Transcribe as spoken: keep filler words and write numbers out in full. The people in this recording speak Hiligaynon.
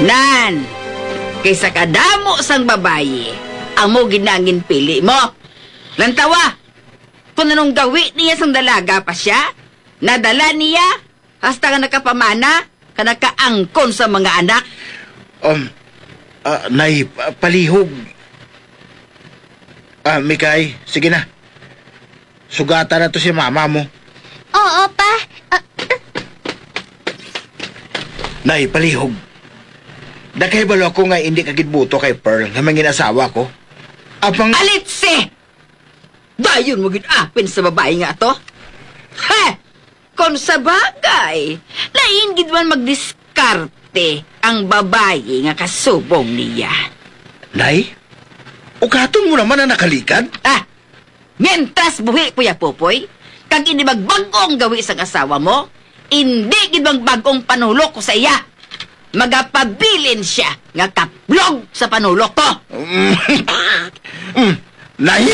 Nan, kay sa kadamo sang babayi, amo gid na ang ginpili mo. Lantawa, kung anong gawi niya sang dalaga pa siya, nadala niya hasta nga nakapamana, ka nakaangkon sa mga anak. Um, ah, nay, pa- palihog. Ah, Mikay, sige na. Sugata na to si mama mo. Oo, pa. Ah, Nay, palihog. Nakahibalo ako nga hindi ka gid buto kay Pearl nga mangin asawa ko. Apang... Alitsi! Dayon mo gid apin sa babayi nga ato? He! Kon sa bagay, lain gid man magdiskarte ang babayi nga kasubong niya. Nay, ugaton mo naman ang nakalikad. Ah! Mientras buhi po ya, Popoy, kag hindi magbag-o ang gawi sang asawa mo, hindi gid magbag-o ang panulok ko sa iya. Magapabilin siya nga kaplog sa panulok ko. Mm, Nay,